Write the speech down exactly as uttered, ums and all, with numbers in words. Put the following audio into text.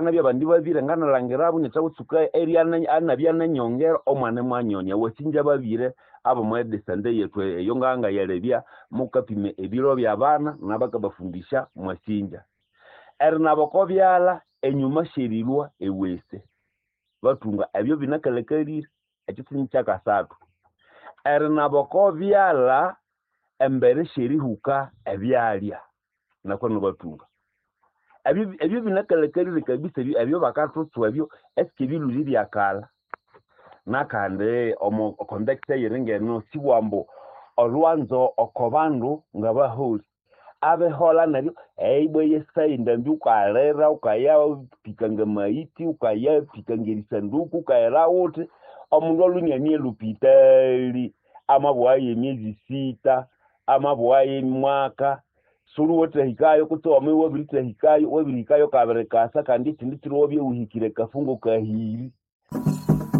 Nabya abandi babĩre nganalangirabo inyathawutsuka anabya nenyongera omwana imwanyonia. Wasinja babĩre ab'omo edisente yethu eyo ngangayalebya mukapima ebiro by'abana nabakabafundisya mwasinja. Erinaba oko byalha enyuma syerilhwa ewese bathunga ebyo binakalhakalire ekyo nikyakasathu. Erinaba oko byalha embere syerihuka ebyalya nakwano bathunga. Ebyo ebyo binakalhakalire kabisa ebyo bakathutswa ebyo esike ebilhwire ibyakalha. Nakandi omo context eyiri ngeno siwambu olhwanzo oko bandu ngabaholi abiholha neryo ibwa eyesaha endambi wukalira wukayapika ngamaghitsi wukayapika ngerisanduku wukayira wuthi omundu alwe iniane elhupitali amabughayo emyezi sita amabughayo mwaka siwuliwathahikayo kutse wamabya iwabirithahikayo wabirihikayo kabiri kasa kandi ekindi kiro iwabya iwuhikire akafungo kahiri.